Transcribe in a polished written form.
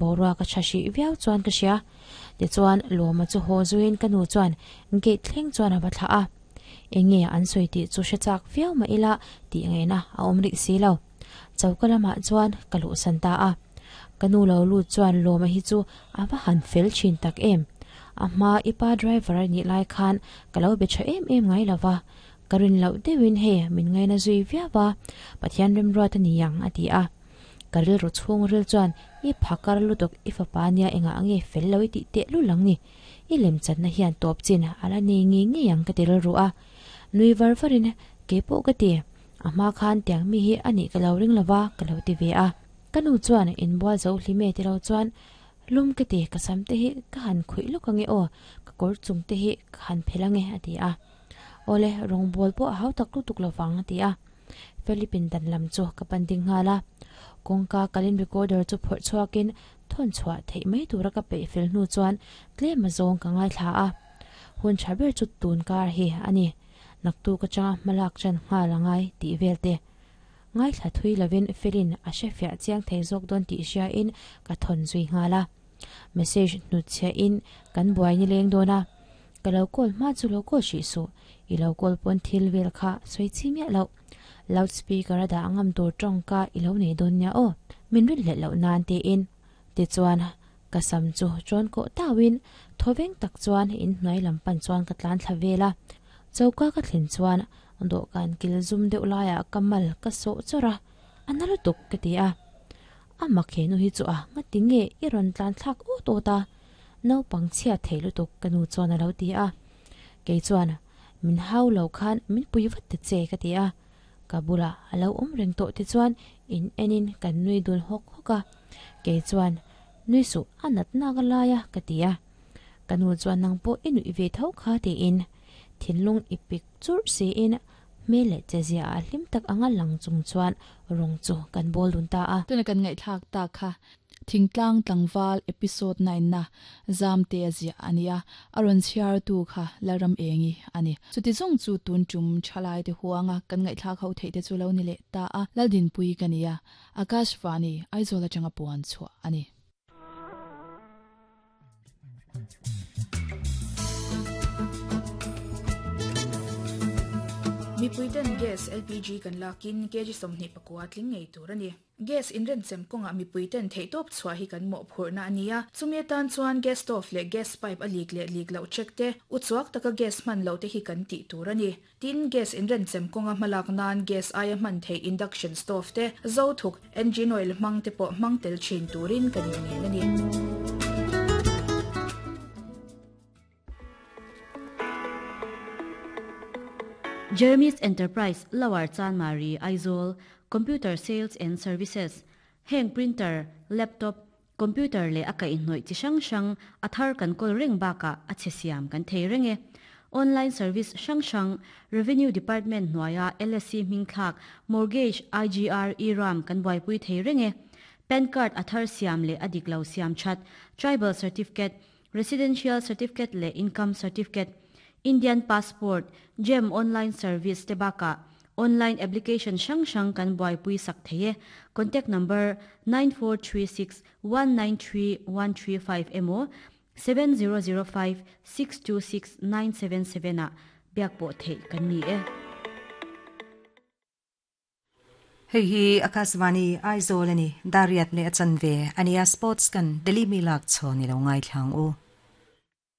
Boruak a tha hrih viau chuan ka hria. Tichuan, Lawma chu haw zuiin ka nu chuan gate thleng chuan a va thlah a. Enge an sawi tih chu hre chak viau mah ila tih ngaihna a awm rih si lo. Choka lamah chuan ka luhsan ta a. Ka nu lo lut chuan Lawma hi chu a va han fel thin tak em. A hma i pa driver a nih lai khan ka lo be tha em em ngai lo va. Ka rin loh deuhin hei min ngaina zui viau a, Pathian remruat a ni ang a ti a. Ka rilru chhungril chuan i phakar lutuk i fapa nia engah nge fel lo i tih teh lul ang ni. I lemchanna hian tawp chin a la nei ngei ngei ang ka ti rilru a. Nui var varin keipawh ka ti. A hma khan tiang mi hi a nih ka lo ring lova ka lo ti ve a. Ka nu chuan inbual zo hlim e ti lo chuan lum ka ti ka sam te hi ka han khuih lawk ange aw ka kawr chung te hi ka han phelh ange a ti a. Awle rawngbawl pawh a hau tak lutuk lovang a ti a. Philipin dan lam chu ka pan ding nghal a. Kawngka kalin recorder chu phawrh chhuakin thawn chhuah theih mai tura ka peih fel hnu chuan tlem a zawng ka ngaithla a. Hun tha ber chu tun kar hi a ni. Naktuk atanga hmalak chan nghal a ngai tih vel te. Ngaithla thui lovin Felin a hre fiah chiang thei zawk dawn tih hriain ka thawn zui nghal a. Message hnutchhiahin kan buai ni leng dawn a. Ka lo call hma chu lo call hrih suh, i lo call pawn thil vel kha sawi chi miah loh. Loud speaker a dah ngam tur tawngka i lo nei dawn nia aw, min rinhlelh loh nan tiin. Tichuan, ka sam chu ṭawn kawh tauhin thawveng tak chuan inhnuai lam pan chuan ka tlan thla vel a. Choka ka thlen chuan dawhkan kil zum deuh laiah ka mal ka sawh chawrh a, a na lutuk ka ti a. A mak he nu hi chu a ngati nge i rawn tlan thlak awt awt a? Naupang chhia thei lutuk ka nu chuan a lo ti a. Kei chuan, Min hau lo khan min pui vat ta che ka ti a. Ka bulah a lo awm reng tawh te chuan in enin kan nui dun hawk hawk a. Kei chuan, Nui suh a nat nak a lai a ka ti a. Ka nu chuan nang pawh i nuih ve tho kha tiin thinlung i pik churh siin hmel leh che zia ah hlim tak anga lang chung chuan rawng chu kan bawl dun ta a. Tuna kan ngaihthlak tak kha Thingtlang tlangval episode 9 na Zamte a ziah a nia, a rawn chhiartu kha Lalram Engi a ni. Chuti zawng chu tun tum thalai te huanga kan ngaihthlak ho theih te chu lo ni leh ta a, Laldinpui ka nia, Akashvani, Aizawl atanga puan chhuah a ni. Mipuiten gas, LPG, kan lakin kg 24 tling ngei tur a ni. Gas inrenchem kawngah mipuiten theihtawp chhuah hi kan mawhphurhna a ni a, chumi atan chuan gas stove leh gas pipe a lik leh lik loh check te, uchuak taka gas hman loh te hi kan tih tur a ni. Tin, gas inrenchem kawnga hmalak nan gas aia hman theih induction stove te, zo thuk, engine oil hmang te pawh hmang tel thin turin kan inngen a ni. Jeremy's Enterprise, Lower Chanmari, Aizawl, Computer Sales and Services, Heng printer, laptop, computer leh a kaihhnawih chi hrang hrang a thar kan kawl reng bakah a chhe siam kan thei reng e. Online service hrang hrang, Revenue Department hnuaia LSC hming thlak, Mortgage, IGR, E-Ram kan buaipui thei reng e. Pan card a thar siam leh a dik lo siam that, Tribal Certificate, Residential Certificate leh Income Certificate, Indian Passport, Gem Online Service te bakah online application hrang hrang kan buaipui sak thei e. Contact number 9436 193 135 emaw 7005 626 977 ah biak pawh theih kan ni e. Hei hi Akashvani Aizawl a ni, Dariat leh a chanve a nia Sports kan Delhi mi lak chhawn i lo ngaithla ang u.